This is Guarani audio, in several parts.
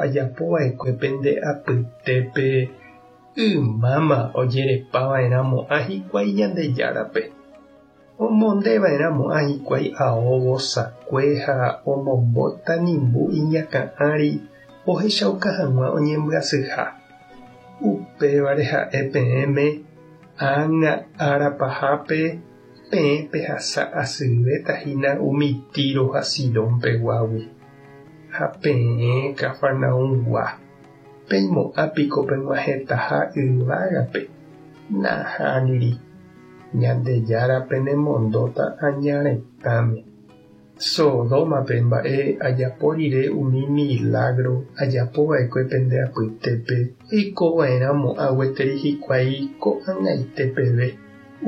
ajapo va'ekue pende apytépe, ymáma ojerepa va'erã mo'ã hikuái Ñandejárape. Omonde va'erã mo'ã hikuái ao vosakue ha omombo tanimbu iñakã ári ohechauka hag̃ua oñembyasyha. Upévare ha'e peẽme, ág̃a ára pahápe peẽ pehasa asyvéta hína umi Tiro ha Sidón peguágui. Ha peẽ Cafarnaumgua, peimo'ã piko peg̃uahẽtaha yvágape? Nahániri, Ñandejára penemondóta aña retãme. Sodómape mba'e ajapo rire umi milágro ajapo va'ekue pende apytépe, oiko va'erã mo'ã gueteri hikuái ko'ag̃aite peve.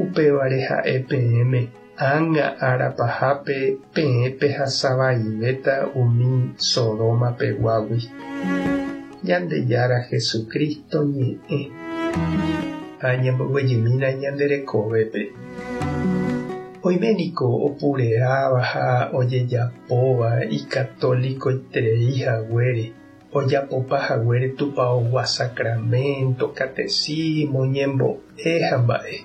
Upévare ha'e peẽme, ág̃a ára pahápe peẽ pehasa vaivéta umi Sodoma peguágui. Ñandejára Jesucristo ñe'ẽ. Ha ñamboguejymína ñande rekovépe. Oime niko opureáva ha ojejapóva ikatolikoiterei haguére, ojapopa haguére tupaogua sacramento, catecismo, ñembo'e ha mba'e,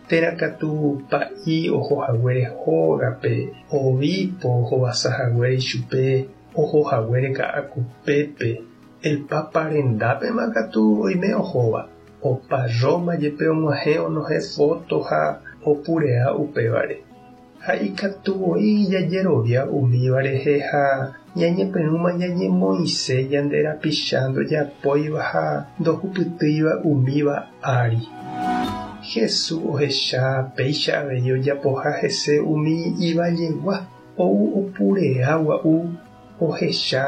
térã katu pa'i oho haguére hógape, obispo ohovasa haguére ichupe, oho haguére Ka'akupépe, el Papa rendápema katu oime ohóva. Opa Roma jepe og̃uahẽ onohẽ fóto ha opurea upévare. Ha ikatu voi jajerovia umíva rehe ha ñañepyrũma ñañemoĩse ñande rapicha ndojapóiva ha ndohupytýiva umíva ári. Jesús ohecha péicha avei ojapoha hese umi ivallegua, ou opurea gua'u, ohecha,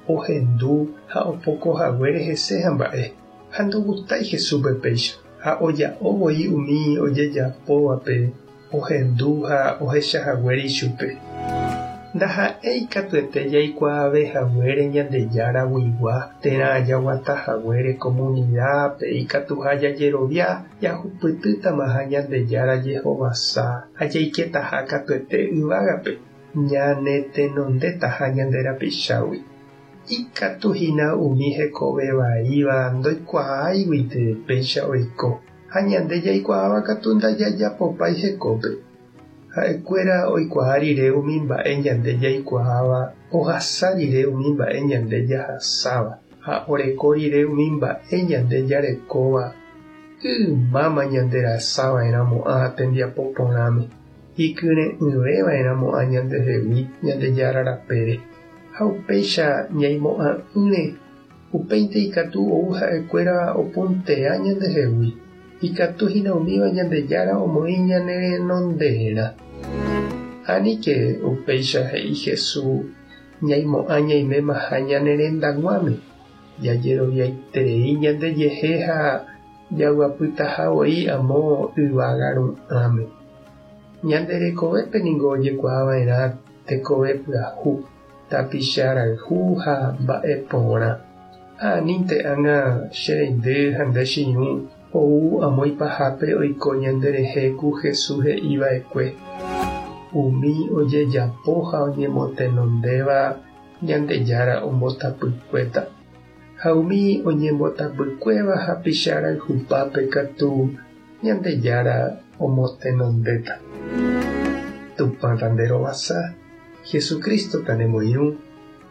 ohendu ha opoko haguére hese ha mba'e. Ha ndogustái Jesúspe péicha, ha oja'o voi umi ojejapóvape ohendu ha ohecha haguére ichupe. Ndaha'éi katuete jaikuaave haguére Ñandejára guigua térã jaguata haguére komunidápe ikatuha jajerovia jahupytýtamaha Ñandejára jehovasa ha jaiketaha katuete yvágape, ñanetenondétaha ñande rapichágui. Ikatu hína umi hekove vaíva ndoikuaáiguinte péicha oiko, ha ñande jaikuaáva katu ndajajapopái hekópe. Ha'ekuéra oikuaa rire umi mba'e ñande jaikuaáva, ohasa rire umi mba'e ñande jahasáva, ha oreko rire umi mba'e ñande jarekóva, ymáma ñanderasava'erãmo'ã tembiapo porãme, ikyre'ỹveva'erãmo'ã ñandehegui Ñandejára rapére. Ha upéicha ñaimo'ã'ỹre, upéinte ikatu ou ha'ekuéra opuntea ñandehegui, ikatu hína umíva Ñandejára omoĩ ñane renonderã. Aníke upéicha he'i Jesús ñaimo'ã ñaimémaha ñane rendag̃uáme, jajeroviaiterei ñandejehe ha jaguapytaha voi amo yvága ru'ãme. Ñande rekovépe ningo ojekuaava'erã tekove pyahu, tapicha rayhu ha mba'e porã. Ha anínte ág̃a che reindy ha nde che irũ ou amo ipahápe oiko ñande rehe ku Jesús he'i va'ekue, Umi ojejapo ha oñemotenondéva Ñandejára ombotapykuéta, ha umi oñembotapykuéva hapicha rayhupápe katu Ñandejára omotenondéta. Tupã tanderovasa, Jesucristo tanemoirũ,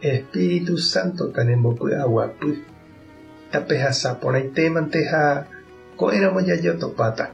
Espíritu Santo tanembopy'aguapy. Tapehasa porãitémante ha ko'ẽramo jajotopáta.